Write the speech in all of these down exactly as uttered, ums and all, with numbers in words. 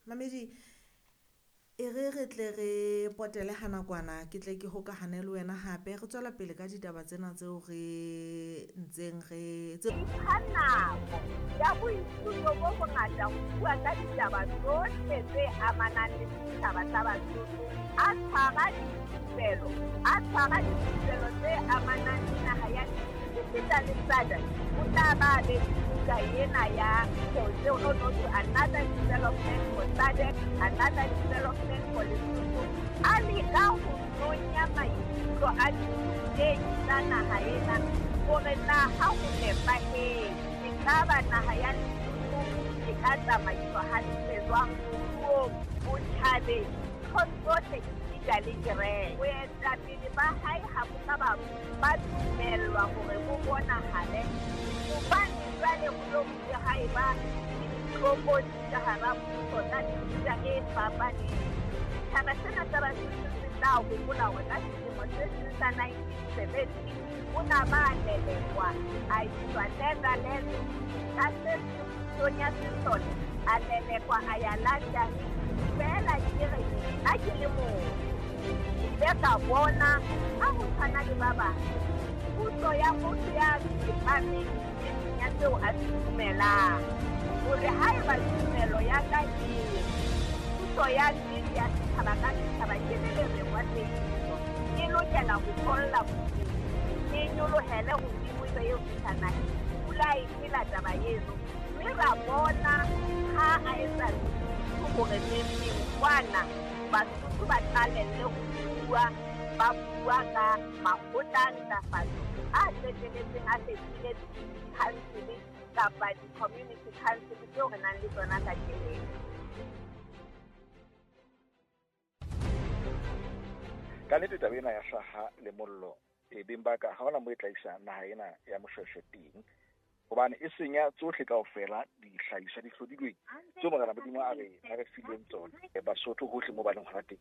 Mamedi, e re re tle re potele ha nakwana, ke tle ke hokahane le wena hape re tswela pele ka ditaba tsena tseo re ntseng re tse Ipha nako ya boithuto bo bongata ho bua ka ditaba tsohle tse amanang le setjhaba sa Basotho. A tshwara dithupelo, a tshwara dithupelo tse amanang le naha ya esita le SADC. O tla ba be le buka ena ya to another development for SADC, another development for Lesotho. A leka ho nonya maikutlo a dirutehi tsa naha ena hore na ha ho nepahetse, ekaba naha ya Lesotho e ka tsamaiswa hantle jwang moruong, botjhabeng, nthong tsohle esita le kereke. Boetapele ba hae ha bo ka ba ba dumellwa hore bo bonahale hobane jwale ho lo bile ha eba le ditlokotsi ka hara mmuso tsa mefuta e fapaneng. Setjhaba sena sa Basotho se tla hopola hore ka selemo se seng sa nineteen seventy o na ba lelekwa a iswa Netherlands, ka se seng pusong ya sesole a lelekwa a ya London. Feela ke re nna ke le motho, ke ile ka bona ha ho tshwana le ba bang puso ya motho ya tsepameng nneteng ya seo a se dumelang, hore haeba tumelo ya ka e re puso ya nnete ya setjhaba ka setjhaba ke le lereng wa tsebiso, e lokela ho tholla hodimo, e nyolohele hodimo ebe eo fihla naheng. Pula e phela taba eno, mme ra bona ha a etsa hore neng kwana Basotho ba qalelle ho bua, ba bua ka makgotla a ntlafatso a qetelletseng a fetohile di-council kapa di-community council tseo re nang le tsona kajeno. Ka nnete taba ena ya hlaha le mollo e beng ba ka ha hona moo e tla isa naha ena ya Moshweshwe teng, hobane e senya tsohle kaofela dihlahiswa di hlodilweng tseo Morena Modimo a re a re fileng tsona. Basotho hohle moo ba leng hona teng,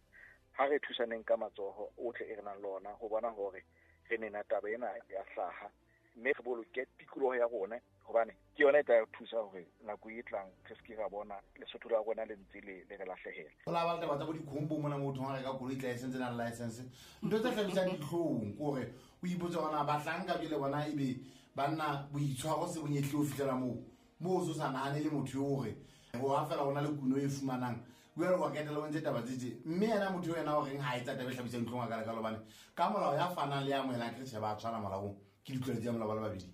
ha re thusaneng ka matsoho ohle e re nang le ona ho bona hore re nena taba ena ya hlaha, mme re boloke tikoloho ya rona, hobane ke yona e tla re thusa hore nako e tlang re se ke ra bona Lesotho la rona le ntse le le re lahlehela. Ho la ba le taba tsa bo dikhombo mona motho ha reka koloi license na license, ntho tse hlabisang dihlong ke hore o ipotse hore na bahlanka jwale bona ebe banna boitshwaro se bo nyehlile ho fihlela moo moo o so sa nahane le motho eo hore ho ha fela ho na le kuno e fumanang jwale wa ketela o ntse taba tse tje, mme yena motho eo yena o reng ha etsa taba e hlabisang dihlong a ka lekalo, hobane ka molao ya fanang le ya amohelang ke tjhe ba tshwana molaong, ke ditlwaelo tsa molao ba le babedi.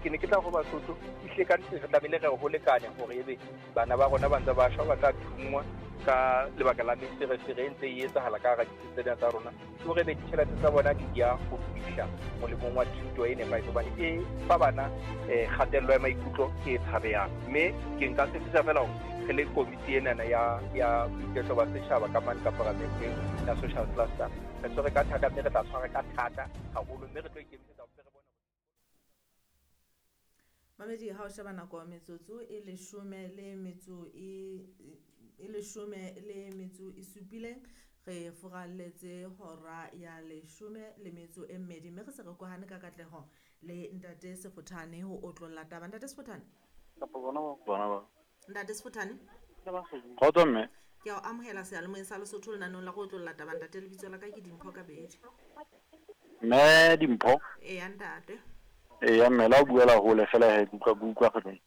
Ke ne ke tla ho Basotho ehlile ka nnete re tlamehile re ho lekane hore ebe bana ba rona ba ntse ba shwa ba tla thunngwa ka lebaka la meferefere e ntse e etsahala ka hara ditsi tsena tsa rona, ke hore ebe ditjhelete tsa bona di ya ho fihla molemong wa thuto e nepahetseng, hobane e fa bana um kgatello ya maikutlo e tshabehang. Mme ke nka tshepisa feela hore re le komiti enana ya ya boiketlo ba setjhaba ka mane ka paramenteng ya social cluster, re tshwere ka thata mme re tla tshwara ka thata haholo, mme re tlo ikemisetsa hore re bone. Mamedi, ha o sheba nako ya metsotso e leshome le metso e e leshome le metso e supileng, re furalletse hora ya leshome le metso e mmedi, mme re se re kohane ka katleho le Ntate Sefothane ho otlolla taba. Ntate Sefothane, kapa bona ba bona ba Ntate Sefothane, kgotso mme, ke a o amohela seyalemoyeng sa Lesotho lenanong la go otlolla taba. Ntate, lebitso la ka ke Dimpho Kabedi. Mme Dimpho? Eya ntate. Eya mme, la o buela hole fela he, ke utlwa ke utlwa kgethong.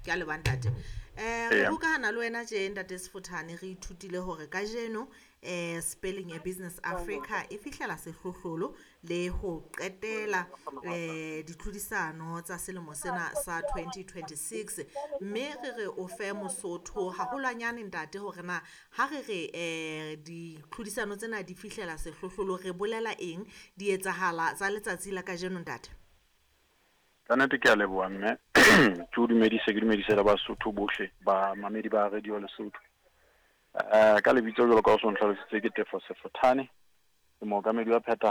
Ke a leboha ntate. Eh re hokahana le wena tje Ntate Sefothane, re ithutile hore kajeno eh spelling ya Business Africa e fihlela sehlohlolo le ho qetela eh ditlhodisano tsa selemo sena sa twenty twenty-six, mme re re o fe Mosotho haholwanyane ntate hore na ha re re eh ditlhodisano tsena di fihlela sehlohlolo re bolela eng, di etsahala tsa letsatsi la kajeno ntate? Ka nnete ke a leboha mme, ke o dumedise, ke dumedise le Basotho bohle ba mamedi ba Radio Lesotho. Eh ka lebitso jwalo ka o so ntlhalositse ke Tefo Sefothane, ke mookamedi wa phethahatso